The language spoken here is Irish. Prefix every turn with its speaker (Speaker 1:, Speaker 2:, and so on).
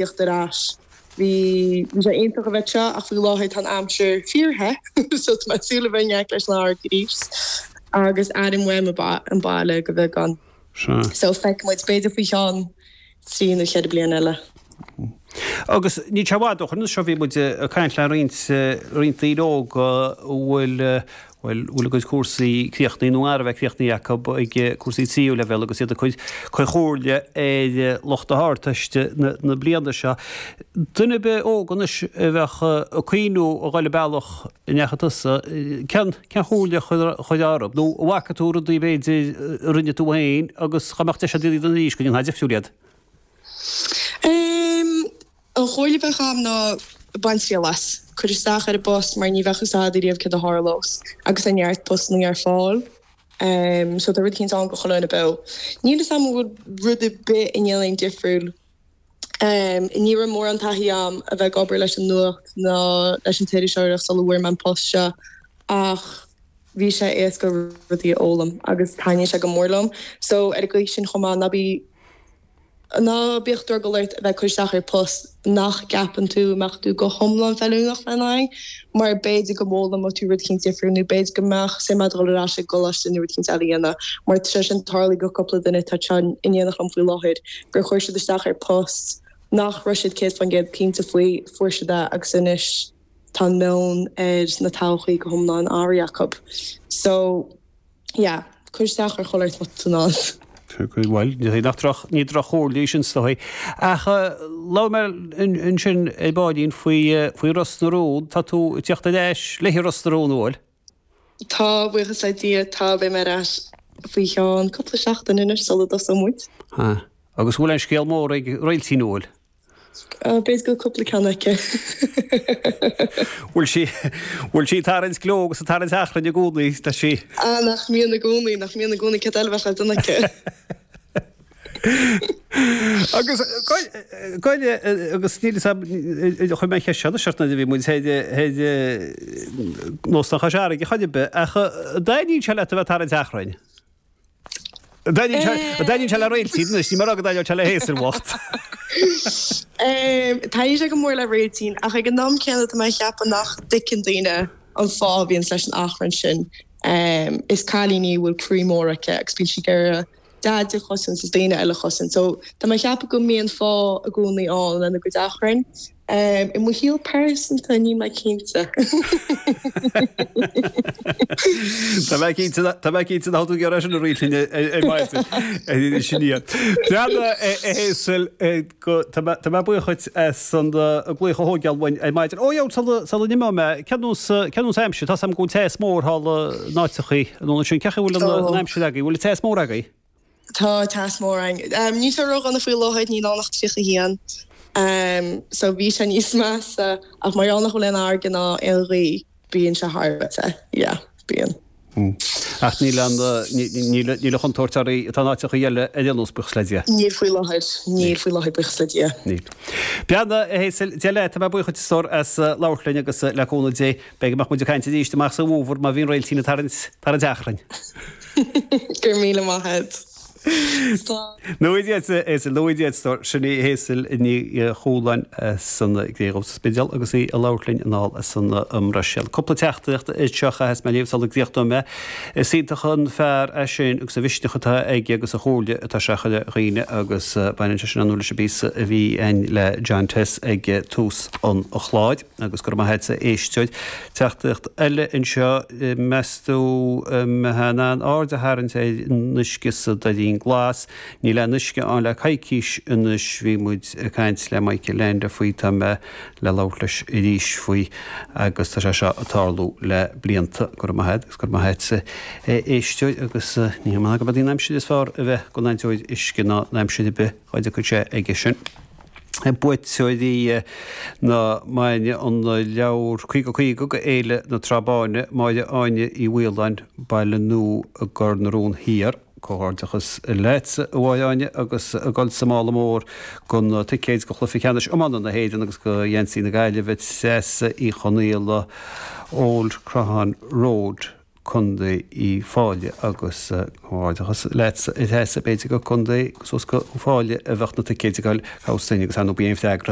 Speaker 1: Tíocht ar ais. Bhí sé iontach a bheith anseo ach faoi láthair tá an aimsir fíor-the so tá mé ag súil a bheith in éineacht leis an fharraige arís agus airím uaim an baile go beagán. So feicfidh muid, b'fhéidir faoi cheann 3 nó 4 bliana eile.
Speaker 2: Agus níl sé i bhfad ó shoin seo bhí muid ag caint le roinnt roinnt daoine óga a bhfuil bhuel, bhfuil a gcuid cúrsaí críochnaithe nó gar a bheith críochnaithe acu ag cúrsaí tríú leibhéal agus iad ag cur comhairle ar lucht na hArdteiste na bliana seo. Duine ar bith óg anois a bheadh ag cuimhniú a dhul an bealach a ndeachaigh tusa, cén chomhairle a chuirfeá orthu? Nó an bhfaca tú rudaí b'fhéidir a rinne tú féin agus dá mbeadh deis agat iad a dhéanamh arís go ndéanfá difriúil iad?
Speaker 1: An chomhairle a bheadh agam ná bain triail as. Cuir isteach ar an bpost mar ní bheadh fhios a'd ariamh céard a tharlós agus tá neart postannaí ar fáil. So tá rud eicínt ann go chuile dhuine beo. Níl fhios a'm an bhfuil rud ar bith a ndéanfainn difriúil. Ní raibh mórán taithí a'm a bheith ag obair leis an nuacht ná leis an t-iriseoireacht sula bhfuair mé an post seo ach bhí sé éasca rudaí a fhoghlaim agus taitníonn sé go mór liom. So ar an gcaoi sin chomh maith ná bí Ná bíodh drogall ort a bheith ag cur isteach ar post nach gceapann tú a mbeadh tú go hiomlán feiliúnach lena aghaidh, mar b'fhéidir go bhfoghlaimeoidh tú rud eicínt difriúil nó b'fhéidir go mbeadh suim agat dul ar ais ag an gcoláiste nó rud eicínt eile a dhéanamh. Mar tá sé sin tarlaithe go cúpla duine atá anseo in éineacht liom faoi láthair, gur chuir siad isteach ar post nach raibh siad 100% cinnte faoi, fuair siad é agus anois tá an meon ar na todhchaí go hiomlán athraithe acu. So. Yeah, cuir isteach ar chuile shórt má tá tú in ann.
Speaker 2: Bhuel, ní nach droch, ní droch-chomhairle í sin is dóigh. Ach labhair mé ansin ar baillín faoi, faoi Ros na Rún. Tá tú ag tíocht ar ais le Ros na Rún, an bhfuil?
Speaker 1: Tá, buíochas le Dia, tá, beidh mé ar ais faoi cheann cúpla seachtain anois sula dtosóidh muid.
Speaker 2: Ah, agus an bhfuil aon scéal mór ag Réiltín, an bhfuil?
Speaker 1: B'fhéidir go bhfuil cúpla ceann aici.
Speaker 2: Bhfuil sí, bhfuil sí ag tarraingt gleo agus ag tarraingt achrainn i gcónaí, tá sí.
Speaker 1: Ah, nach mbíonn i gcónaí, nach mbíonn i gcónaí, céard eile a bheadh le déanamh aici?
Speaker 2: Agus goile, agus níl fhios a'm, chuir mé an cheist seo anois ort nuair a bhí muid thoir, thoir in Óstán Chois Fharraige chor ar bith, ach an dtaitníonn sé leat a bheith ag tarraingt achrainn? An dtaitníonn sé le Réiltín anois, níl mé ag rá go dtaitneodh sé le Hazel bhocht.
Speaker 1: Taitníonn sé go mór le Réiltín, ach ag an am céanna tá mé ag ceapadh nach dtuigeann daoine an fáth a bhíonns leis an achrann sin. Is cailín í a bhfuil croí mór aici agus bíonn sí ag iarraidh Daid a chosaint is daoine eile a chosaint. So tá mé ag ceapadh go mbíonn fáth i gcónaí ann lena gcuid achrainn. I mo shaol pearsanta, níl mé cinnte.
Speaker 2: Tá mé cinnte, tá mé cinnte nach bhfuil tú ag iarraidh sin a roinnt linn ar maidin. Sin iad. Breathnaigh, a Hazel, tá mé, tá mé buíoch dhuit as an glaoch a thógáil uainn ar maidin. Ó, sula, sula n-imeoidh mé, cén nós, cén nós aimsire? Tá 's a'm go bhfuil teas mór thall in áiteachaí an ansin. Cén chaoi a bhfuil an aimsir agaibh? Bhfuil teas mór agaibh?
Speaker 1: Tá teas mór againn. Níl sé ródhona faoi láthair, níl ann ach 31. So bhí sé níos measa ach mar gheall nach bhfuil aon fharraige ná aon ghaoth, bíonn sé thar a bheith te. Yeah, bíonn.
Speaker 2: Ach níl an, níl, níl an chontúirt oraibh atá in áiteachaí eile ar aon nós, buíochas le Dia.
Speaker 1: Níl faoi láthair, níl faoi láthair, buíochas le Dia.
Speaker 2: Níl. Beannacht, a Hazel, Dia leat, tá mé buíoch duit a stór as labhairt linn agus le cúnamh Dé, B'fhéidir go mbeadh muid ag caint arís amach sa bhfómhar má bhíonn Réiltín ag tarraingt, tarraingt achrainn.
Speaker 1: Go raibh míle maith agat. Slán.
Speaker 2: Nua Dia duit, a Hazel, nua Dia duit, a stór. Sin í Hazel Ní Chualáin as an gCré Dhubh sa Spidéal agus í ag labhairt linn anall as an mBruiséil. Cúpla teachtaireacht anseo a chaithfeas mé a léamh sula gcríochnóidh mé. Is iontach an fear é sin agus an mhisneach atá aige agus an chomhairle atá sé a chur ar dhaoine agus baineann sé sin ar ndóigh leis an bpíosa a bhí againn le John Tess ag tús an chláir. Agus go raibh maith agat a éisteoir. Teachtaireacht eile anseo, meas tú an mbeifeá in ann aird a tharraingt ar an uisce sa Doirín Glas? Níl aon uisce ann le coicís anois. Bhí muid ag caint le Michael Leainde faoi, tá mé le labhairt leis arís faoi agus tá sé seo ag tarlú le blianta. Go raibh maith agat agus go raibh maith agatsa a éisteoir agus ní hé gurb í an aimsir is fearr a bheith ag aon uisce ná in aimsir ar bith dá dtiocfadh sé aige sin. Buaiteoirí na maidine an leabhar 50 50 go Fhéile na Trá Báine, Máire Áine Uí Mhaoláin, Baile Nua i gCor na Rón Thiar. Comhghairdeachas leatsa, a Mháire Áine, agus ag dul sa mála mór go na ticéid go Chluiche Ceannais Iomána na hÉireann agus go gheansaí na Gaillimhe, Treasa Uí Chonaola, Old Croghan Road. Contae Uíbh Fhailí agus comhghairdeachas leatsa a Threasa, b'fhéidir go Contae suas go Uíbh Fhailí a bheadh na ticéid ag dul, cá bhfios duinn agus ar ndóigh bí an freagra.